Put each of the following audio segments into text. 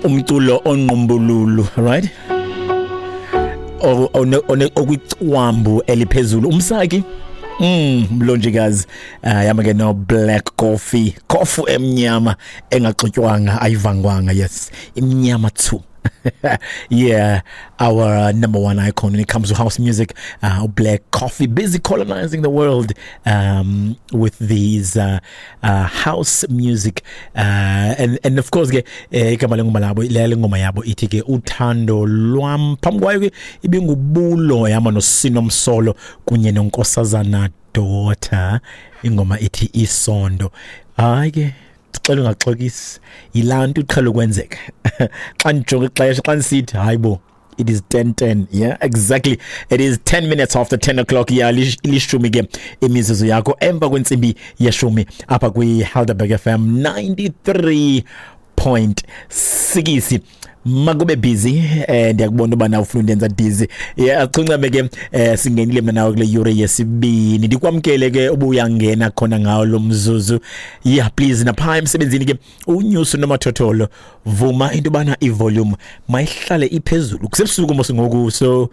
Umculo onqumbululu, right? Okwicwambu eliphezulu umsaki. Mlonjikazi yama ke no Black Coffee, kofu emnyama engaxutywanga, ayivangwanga, yes, imnyama too. Yeah, our number one icon when it comes to house music, Black Coffee, busy colonizing the world with these house music, and of course ke igama lengoma labo, le ngoma yabo ithi ke Uthando Lwam. Phambi kwayo ke ibingubulo yama noSinomsolo kunye noNkosazana Daughter, ingoma ithi Isondo. Hayi ke, xela ungaxokisi, yilaa nto iqhela ukwenzeka xa ndijonga ixesha, xa ndisithi hayi bo, it is 10:10. Yeah, exactly, it is 10 minutes after 10 o'clock. Yeah, 10 ke imizuzu yakho emva kwentsimbi yeshumi apha kwi-Helderberg FM 93.6. Makube busy, ndiyakubona uba ufuna undenza dizzy. Yeah, chuncame ke, singenile mna nawe kule yure yesibini. Ndikwamkele ke ubuyangena khona ngawo lo mzuzu. Yeah, please, napha emsebenzini ke unyuso nomathotholo, vuma into yobana ivolume mayihlale iphezulu. Kusebusuku mos ngoku, so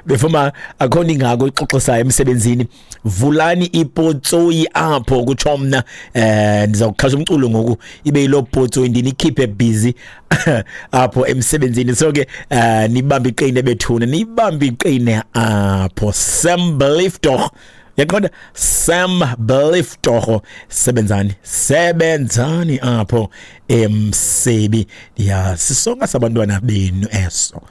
befoma akho nto ingako ixoxisayo emsebenzini. Vulani ipotsoyi apho, kutsho mna. Ndizawukhasa umculo ngoku ibe yiloo potsoyi, ndinikhiphe busy apho emsebenzini. So ke nibambe iqine bethuna, nibambe iqine apho. Sam Belief Dog, yaqonda, Sam Belief Dog, sebenzani, sebenzani apho emsebi. Ya, sisonka sabantwana benu eso,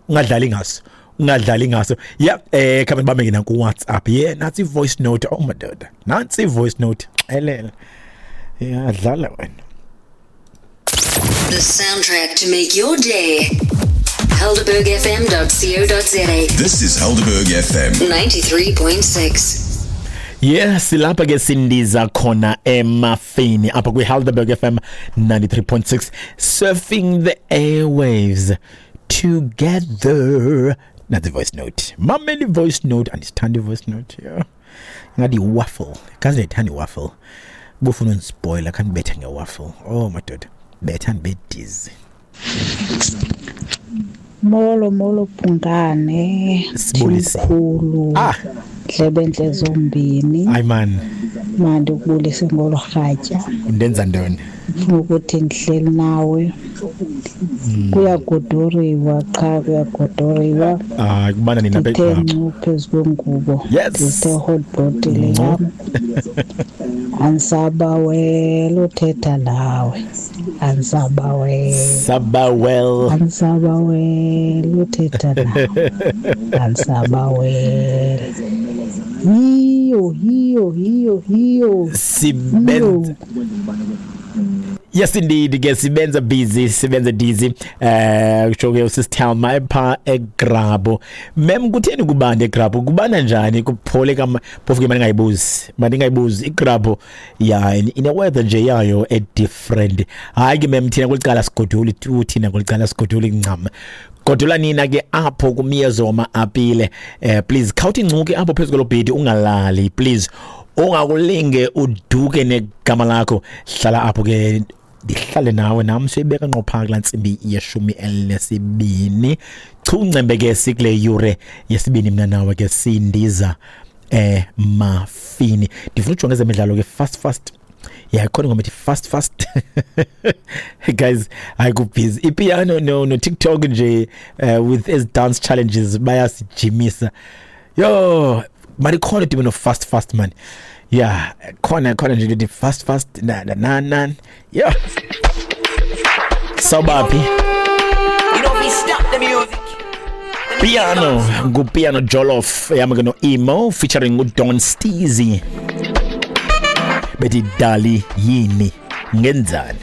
ungadlali ngaso, ungadlali ngaso. Yeah, khabe bambe ke naku WhatsApp. Yeah, nansi voice note. Oh madoda, nansi voice note, xelele. Yeah, dlala wena. The soundtrack to make your day. HelderbergFM.co.za. This is Helderberg FM. 93.6. Yeah, silapha ke, sindiza khona emafini apha kwi-Helderberg FM 93.6, surfing the airwaves together. Nansi voice note, mameli voice note. Andisithandi voice note. Yeah, ngathi i-waffle, kaze ndiyayithanda i-waffle. Bufuna undispoila, khandibethe nge-waffle. Oh madoda, betha ndibe dizzy. Molo molo Bhungane. Sibulise. Mkhulu. Ah. Ndlebentle zombini. Hayi man. Mandikubulise ngolo rhatya. Undenza ntoni? Ndifuna ukuthi ndihleli nawe. Kuyagodoriwa qha, kuyagodoriwa. Hayi, kubana nina. Ndithe ncu phezu kwengubo. Yes. Ndithe hot bottle yam. Andisabawela uthetha nawe. Andisabawela. Sabawel. Andisabawela uthetha nawe. Andisabawela. Yiyo, yiyo, yiyo, yiyo. Sibenza. Yes indeed ke, sibenza busy, sibenza dizzy. Kusho ke usisithelma pha eGrabo. Mem, kutheni kubanda eGrabo? Kubanda njani? Kuphole kama phofu ke mandingayibuzi. Mandingayibuzi iGrabo ya ine weather nje yayo e different. Hayi ke mem, thina kulicala sigoduli, thina kulicala sigoduli ncam. Godula nina ke apho kumyezo wama-apile. Please khawuthi incuke apho phezu kwelo bhedi, ungalali please, ungakulinge uduke negama lakho. Hlala apho ke, ndihlale nawe nam, siyibeka ngqo phaa kulaa ntsimbi yeshumi elinesibini. Chuncembe ke, sikule yure yesibini mna nawe ke, sindiza emafini. Ndifuna ujonga ezemidlalo ke fast fast. Yeah, khona ingoma ethi fast fast. Guys, hayi, kubhizi ipiano no TikTok nje, with ezi dance challenges bayasijimisa. Yo, mari khona dibene no fast fast man. Yeah, khona khona nje ndithi fast fast na na na na. Yeah, sawubaphi? You don't be stop the music. Piano, nguPiano Jollof yami ke no Emo featuring uDon Steezy, bethi dali yini ngenzani.